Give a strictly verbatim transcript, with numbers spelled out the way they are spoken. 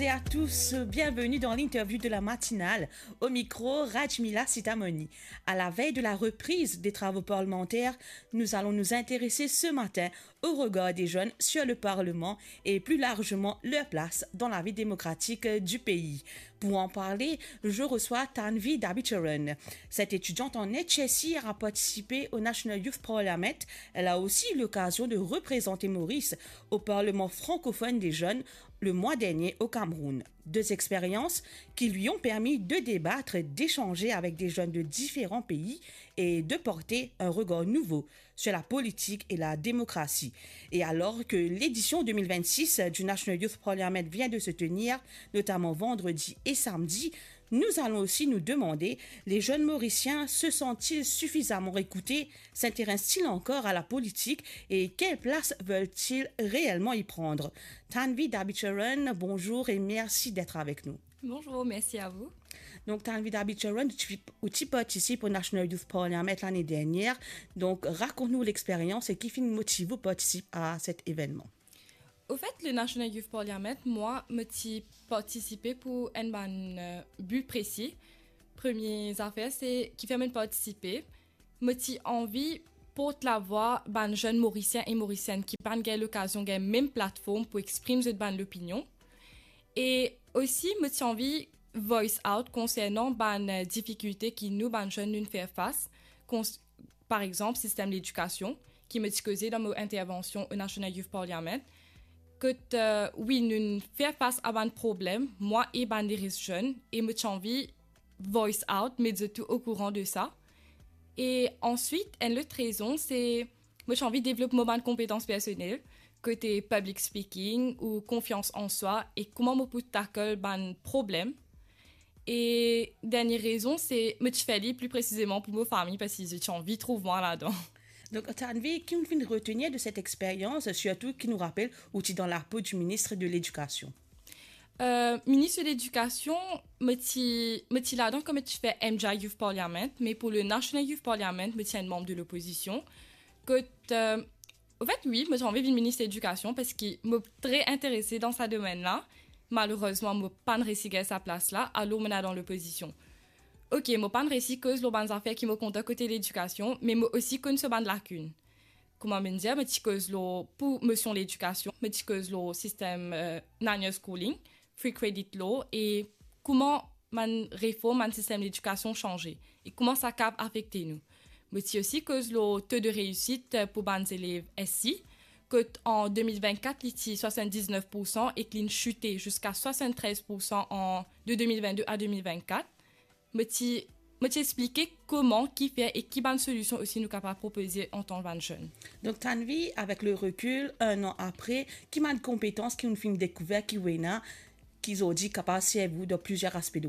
Et à tous, bienvenue dans l'interview de la matinale. Au micro, Rajmila Sitamoni. À la veille de la reprise des travaux parlementaires, nous allons nous intéresser ce matin au regard des jeunes sur le Parlement et plus largement leur place dans la vie démocratique du pays. Pour en parler, je reçois Tanvi Dabicharan. Cette étudiante en H S C a participé au National Youth Parliament. Elle a aussi eu l'occasion de représenter Maurice au Parlement francophone des jeunes le mois dernier au Cameroun. Deux expériences qui lui ont permis de débattre, d'échanger avec des jeunes de différents pays et de porter un regard nouveau sur la politique et la démocratie. Et alors que l'édition deux mille vingt-six du National Youth Parliament vient de se tenir, notamment vendredi et samedi, nous allons aussi nous demander, les jeunes Mauriciens se sentent-ils suffisamment écoutés, s'intéressent-ils encore à la politique et quelle place veulent-ils réellement y prendre ? Tanvi Dabicharan, bonjour et merci d'être avec nous. Bonjour, merci à vous. Donc, Tanvi Dabicharan, tu, tu participes au National Youth Parliament l'année dernière. Donc, raconte-nous l'expérience et qui finit motive ou participe à cet événement. Au fait, le National Youth Parliament, mwa, mo ti partisipe pou enn bann, euh, bi presi. Premie zafer, se kifer mo partisipe. Mo ti anvi port lavwa bann zenn Morisien e Morisienn ki pa'nn gagn lokazion gagn mem platform pou exprim zot bann lopinion. E osi, mo ti anvi voice out konsernan bann, euh, difikilte ki nou, bann zenn, nou fer fas, kons-, par exanp, sistem ledikasion, ki mo ti koze dan mo intervansion au National Youth Parliament, kot, euh, wi, nou fer fas a bann problem, mwa e bann leres zenn, e mo ti anvi voice out, met zot tou okouran de sa. E answit, enn lot rezon, se mo ti anvi devlop mo bann konpetans personel, kote public speaking ou konfians an swa, e kouma mo pou tackle bann problem. E dernie rezon, se mo ti fer li pli presizeman pou mo fami, parski zot ti anvi trouv mwa ladan. Donc, Tanvi, ki ou finn retenir de cette expérience, surtout ki nou rapel ou ti dan lapo du ministre de l'Éducation ? Euh, ministre de l'Éducation, mo ti, mo ti ladan kan mo ti fer M J I Youth Parliament, me pou le National Youth Parliament, mo ti enn manm de lopozision. Kot, euh, au fait, wi, mo ti anvi vinn minis ledikasion parski mo tre interese dan sa domenn la. Malerezman, mo pa'nn resi gagn sa plas la, alor mo ena dan lopozision. Ok, mo pa'nn resi koz lor bann zafer ki mo kontan kote ledikasion, me mo osi konn so bann lakinn. Kouma mo'nn dir, mo ti koz lor, pou mosion ledikasion, mo ti koz lor sistem, euh, Nanya Schooling, Free Credit Law, e kouma bann reform bann sistem ledikasion sanze, e kouma sa kav afekte nou. Mo ti osi koz lor to de reisit, euh, pou bann zelev S C, kot an de mil vennkat, li ti swasann-diznef poursan ek li'nn site ziska swasann-trez poursan an, de de mil vennde a de mil vennkat. Mo ti, mo ti explike kouma, kifer e ki bann solision osi nou kapav propoze antan bann zenn. Donc, Tanvi, avec le recul, un an après, ki bann konpetans ki ou finn dekouver ki ou ena, ki zordi kapav servi ou dan plizier aspe de